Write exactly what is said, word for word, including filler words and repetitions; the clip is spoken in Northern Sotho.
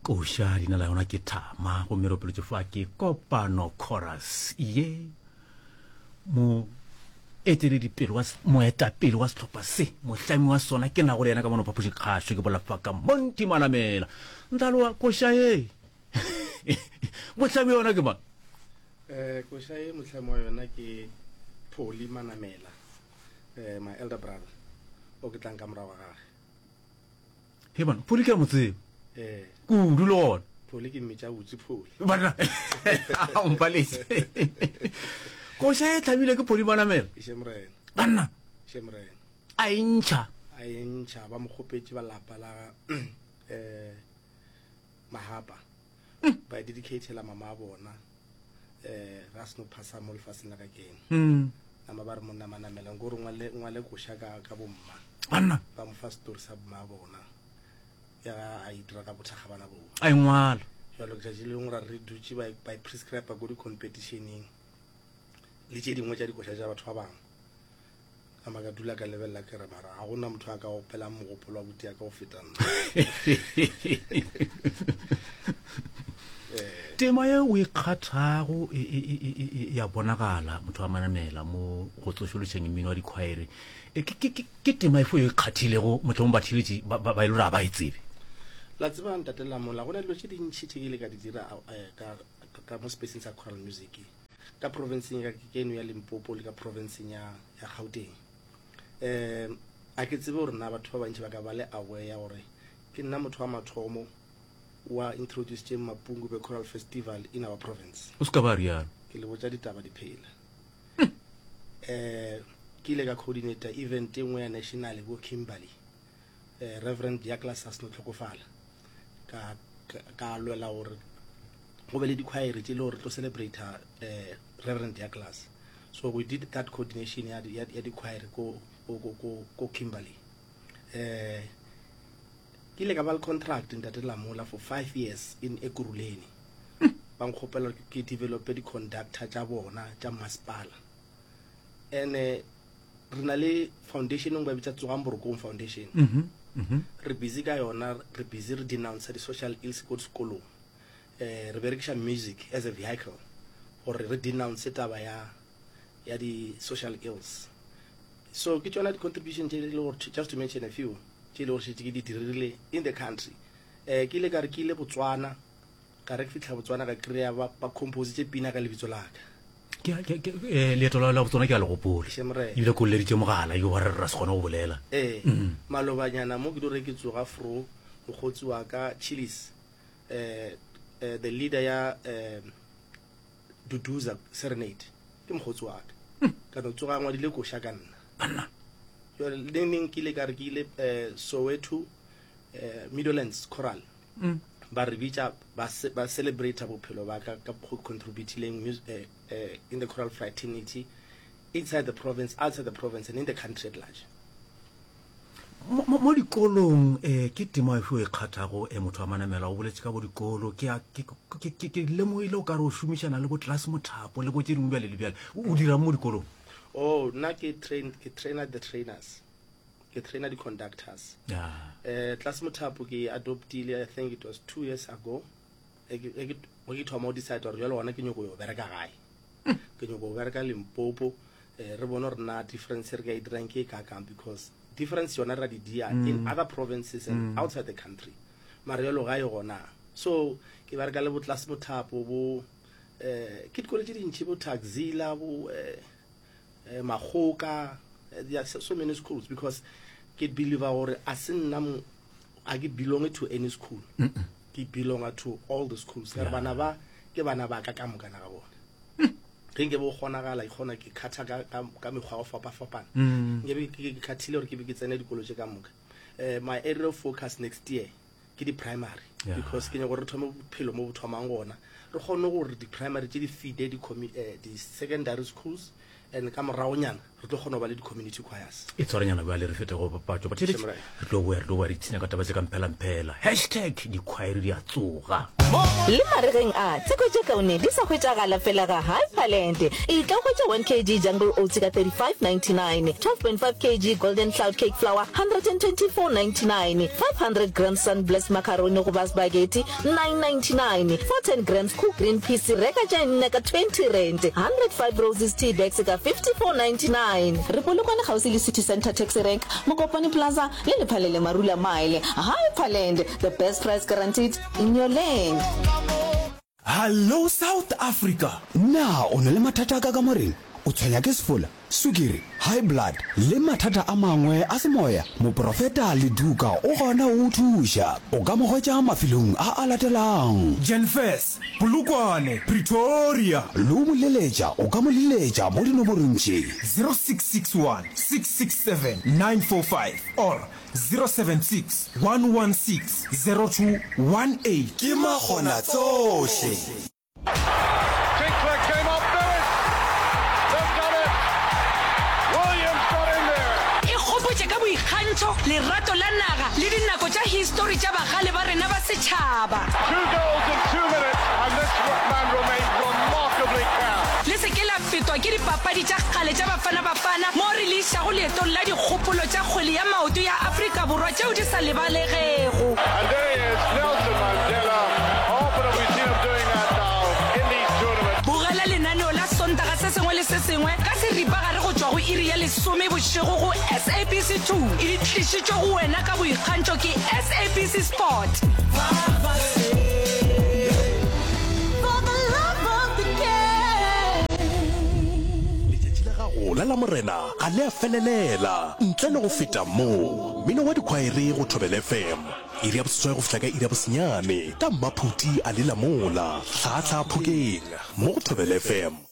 Koša leina la yona ke Thama, gomme re opeletše fa ke Kopano Chorus ye. Moeteledipele wa moetapele wa sehlopha se, mohlami wa sona, ke nago le yena ka mono phapošing kgašo, ke bolela ka Monty Manamela. Ntlaloa, koša ye mohlami wa yona ke mang? Eh, koša ye mohlami wa yona ke Pholi Manamela, eh, my elder brother, o ke tlang ka morago ga gage. He bana, Pholi ke a mo tseba. Eh. Kudu le gona. Pholi ke mmitša botse Pholi. Banna, o mpaletse. Koša e tlhamile ke Pholi Manamela. Še morena. Banna. Še morena. A e ntšha. A e ntšha, ba mo kgopetše ba lapa la eh Mahapa. Mm. Ba e dedicatela mama a bona. Eh, ra seno phasa mo lefaseng la ka keno. Mm. Nama ba re monna Manamela nko re ngwale ngwale koša ka ka bomma. Banna. Ba mo fa story sa bomma a bona. Ya a e dira ka bothakga bana bo. A e ngwala. Jalo letšatši le lengwe ra re dutše ba ba e prescribe ko di-competitioneng le tše dingwe tša dikoša tša batho ba bangwe. Nama ka dula ka lebelela ke re mara ga gona motho a ka opelang mogopolo wa buti ya ka go feta nna. Tema ye o e kgathago e, e, e, e, e, ya bonagala motho wa Manamela mo go tsošološeng mmino wa dikhwaere. E, ke, ke, ke, ke tema efe o e kgathilego mohlomong batheeletši ba, ba, ba e le gore ga ba e tsebe? La tseba ntate Lamola, go na dilo tše dintši tše ke ile ka di dira eh, ka, ka mo spaceng sa choral music ka provinceng ya keno ya Limpopo le ka provinceng ya, ya Gauteng. Um a ke tsebe gore na batho ba bantši ba ka ba le aware ya gore ke nna motho wa mathomo wa introduced Mapungubwe Choral Festival in our province. O se ka ba rialo. Ke le botša ditaba di phela. Eh, ke ile ka coordinator event e nngwe ya national ko Kimberley. Eh, Reverend Douglas a seno tlhokofala. Ka, ka, ka lwela gore go be le dikhwaere tše le gore tlo celebrate eh, Reverend Douglas. So we did that coordination ya, ya, ya dikhwaere ko, ko, ko, ko, ko Kimberley. Eh, ke ile ka ba le contract ntate Lamola for five years in Ekurhuleni. Ba nkgopela gore ke develope di-conductor tša bona tša masepala. And eh, re na le foundation e nngwe ba bitsa Tsogang Borokong Foundation. Mm -hmm. Re busy ka yona, re busy re denounce di-social ills ko dikolong. Eh, re berekiša music as a vehicle gore re denounce taba ya ya di-social ills. So ke tšona di-contribution tše e le gore, just to mention a few, tše e le gore šetše ke di dirile in the country. Eh, ke ile ka re ke ile Botswana, ka re ke fihla Botswana ka kry-a ba, ba compositše pina ka lebitso la ka. Ke, ke, ke, eh, leeto la la Botswana ke a le gopola. Še morena. Ebile ke o leleditše mogala yo wa re ra se kgone go bolela. Eh, Mm. malobanyana mo ke di re ke tsoga fro mokgotsi wa ka Chillis, eh, eh, the leader ya eh, Duduza Serenade, ke mokgotsi wa ka. Ka no tsoga a ngwadile koša ka nna. Banna. Jwale le neng ke ile ka re ke ile eh, Soweto eh, Meadowlands Choral. Mm. Ba re bitša ba ce-, ba celebrate bophelo ba ka ka go contributileng mus-, eh, eh, in the choral fraternity inside the province, outside the province and in the country at large. Mo, mo, mo dikolong eh, ke tema efe o e kgathago eh, motho wa Manamela? O boletše ka bo dikolo, ke a, ke, ke, ke, ke lemogile o ka re o šomišana le bo class mothapo le bo tše dingwe bjale le bjale. O, o dirang mo dikolong? Oh, nna ke train, ke trainer the trainers. Ke trainer the conductors. Yeah. Eh, class mothapo ke adoptile, I think it was two years ago. E ke, e ke, ke thoma go decide gore jwale gona ke nyoko yo bereka gae. Ke nyoko bereka Limpopo. Eh, re bone gore na difference re ka e dirang ke e kakang, because difference yona ra di dia Mm. in other provinces and Mm. outside the country. Mara jwalo gae gona. So ke bereka le bo class mothapo bo, eh, ke dikolo tše dintši, bo Taxila, bo, eh, eh, Makgoka, eh, there are so, so many schools, because ke believe gore a se nna mo, a ke belong to any school. Mm -mm. Ke belong to all the schools. Ka re Yeah. bana ba ke bana ba ka ka moka na ga bona. Ge nke bo kgonagala, ke kgona ke kgatha ka, ka, ka mekgwa ya go fapafapana. Mm. Nke be ke, ke kgathile gore ke be ke tsene dikolo tše ka moka. Eh, my area of focus next year ke di-primary. Yeah. Because ke nyaka gore re thome bophelo mo bo thomang gona. Re kgone gore di-primary tše di feede di-commu-, eh, di-secondary schools, and ka moragonyana re tlo kgona go ba le di-community choirs. E tshwarenyana bjale re fete go papatšo. Batheeletši, Shemrae. re tlo boya, re tlo boya re ipshina ka taba tše ka mphelamphela. Hashtag dikhwaere di a tsoga. Le maregeng a, tseko tše kaone di sa hwetšagala fela ga Hyperland. Etla o hwetše one kg Jungle Oats ka thirty-five ninety-nine, twelve point five kg Golden Cloud Cake Flour hundred and twenty-four ninety-nine, five hundred grams Sunblest Macaroni goba Spaghetti nine ninety-nine, four ten grams Cook Green Peas reka tše nne ka twenty rand, hundred five Roses Tea Bags ka fifty-four ninety-nine. Re Polokwane kgauswi le City Centre Taxi Rank, Mokopane Plaza le Lephalele Marula Mile. Hyperland, the best price guaranteed in your land. Hallo South Africa! Na o na le mathata a ka kamoreng? O tshwenya ke sefola, sukiri, high blood le mathata a mangwe a semoya? Moprofeta Leduka o gona go o thuša. O ka mo hwetša mafelong a a latelang. Jenfes, Polokwane, Pretoria. Le go mo leletša o ka mo leletša mo dinomorong tše. Zero six six one six six seven nine four five or zero seven six one one six zero two one eight. Ke makgonatsohle. Tinkler came up with it. They've done it. Williams got in there. Ikgopotše ka boikgantšho, lerato la naga le dinako tša histori tša bagale ba rena ba setšhaba. Two goals in two minutes and this man remains remarkably calm. Le se ke la fetwa ke dipapadi tša kgale tša Bafana Bafana mo re le išago leetong la dikgopolo tša kgwele ya maoto ya Afrika Borwa tšeo di sa lebalegego. And there he is, Nelson Mandela. Often have we seen him doing that now in these tournaments. Bogela lenaneo la Sontaga se sengwe le se sengwe ka seripagare go tšwa go iri ya lesome bošego go S A B C two. E tlišitšwe go wena ka boikgantšho ke S A B C Sport. Letšatši la gago la Lamorena ga le a felelela ntle le go feta mo. Mmino wa dikhwaere go Thobela F M, iri ya boseswai go fihla ka iri ya bosenyane, ka Mmaphuti a le Lamola, Hlahla Phokeng, mo go Thobela F M.